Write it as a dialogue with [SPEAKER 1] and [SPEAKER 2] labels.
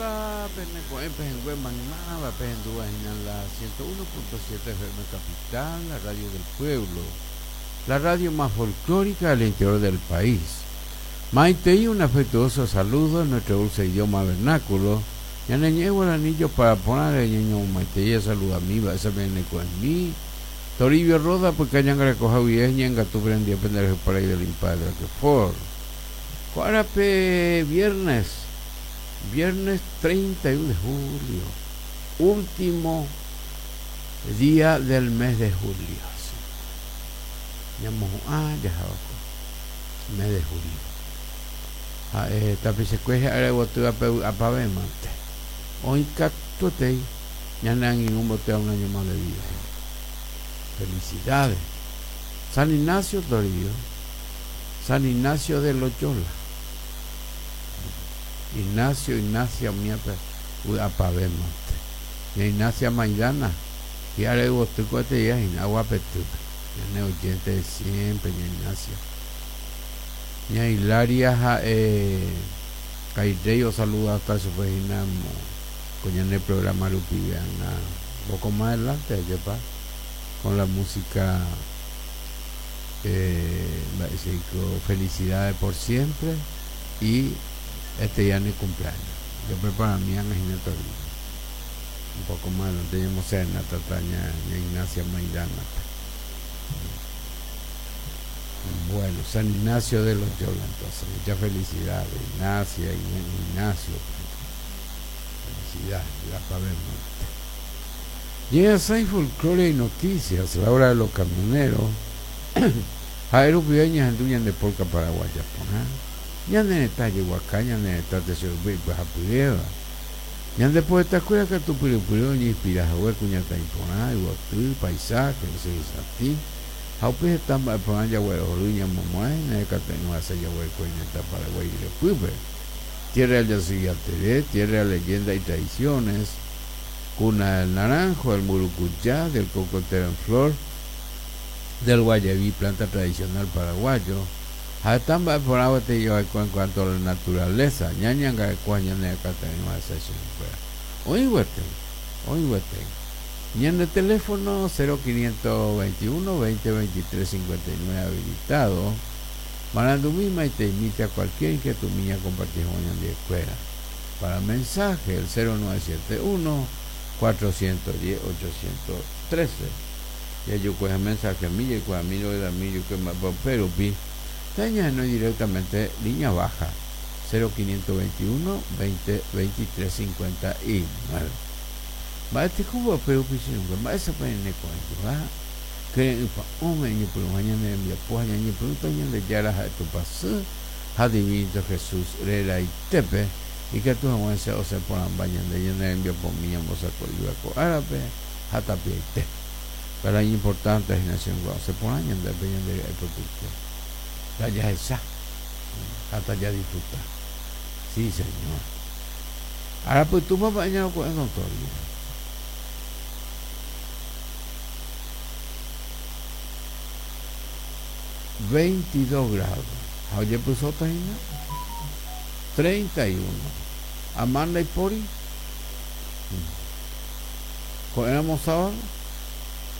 [SPEAKER 1] Opa pene ko'ẽ pehẽngue maymáva pehendúva hína la 101.7 FM Capital, la radio del pueblo, la radio más folclórica del interior del país. Maitei un afectuoso saludo en nuestro dulce idioma vernáculo. Ñane ñe'ẽ guaraní jopara porãre ñañomomaitei asaludamíva esa pene ko'ẽmi. Toribio Roda pyka ñangarekoha guive ñe'ẽngatu pene pende rehe parai del Impadre Roquefort. Ko árape viernes, viernes 31 de julio, último día del mes de julio. Ñamohu'ã jaháva ko mes de julio. Ha'e tapichakue hi'ára yvotývape vy'apavẽmante. Oĩ katuetei ñane angirũ mbotéva un año más de vida. Felicidades. San Ignacio Toribio. San Ignacio de Loyola. Ignacio, Ignacia umíape vy'apavẽmante. Ña Ignacia Maidana, hi'ára yvoty ko'eteia hína Aguapetýpe. Ñane oyente de siempre, ña Ignacia. Ña Hilaria ha'e Kairréi osaludata chupe hína ko ñane programa rupive ág̃a un poco más adelante, ajépa, con la música mba'éichaiko Felicidades por siempre y este día ne cumpleaños. Yo preparami ág̃a hína Toribio. Un poco más adelante ñamoserenátata ña Ignacia Maidana-pe. Bueno, San Ignacio de Loyola entonces. Muchas felicidades, Ignacia, Ignacio. Felicidades, la Monte. Llega Folclore y Noticias, la hora de los camioneros. Ha'e rupive ñahendu ñande polka paraguaya porã. Ñane retã jeguaka, ñane retã tesoypy ipyhapyréva. Ñande poetakuéra katu pyrypyry oñeinspira hague kuñataĩ porã, yvoty, paisaje, ysyry satĩ, ha upe heta mba'e porã jaguerohory ñamomo'ã hína hekate'ỹva hese jaguereko iñetã Paraguái ryepýpe. Tierra del Yasy Yateré, tierra de leyenda y tradiciones, cuna del naranjo, del murucuyá, del cocotero en flor, del guayaví, planta tradicional paraguayo. Ha heta mba'e porã gueteri jaguereko en cuanto a la naturaleza, ñañangareko ha ñane hekate'ỹva hese chupekuéra. Oĩ gueteri, oĩ gueteri. Ñande teléfono 0521 20 23 59 habilitado. Marandumi maiteimíta cualquier inquietud ñakomparti hag̃ua ñandivekuéra. Para mensaje el 0971 410 813. Jajukueha mensajemi jaikuaami roguerami jukue mba'épa upe rupi tañahenói directamente línea baja 0521 20 23 59. Mba'e tekóva upe rupi che irũngue, mba'éichapa ñaneko'ẽjeva kyre'ỹ pa'ũme iñepyrũha ñane rembiapo ha ñañepyrũta Ñandejára ha'e Tupãsy ha Divinito Jesús reraitépe, ikatu hag̃uáicha osẽ porãmba ñande ñane rembiapomi ñambosako'íva ko árape ha tapiaite. Péro iñimportánte hína che irũngue osẽ porã ñandépe ñande ry'ái pypyite. Tajahecha ha tajadisfruta. Sí, señor. Ára pytũpa mba'e ñaroko'ẽ notorio. 22 grado. Ha ojepysóta hína 31. Ama ndaipóri. Ko'ẽramo sábado.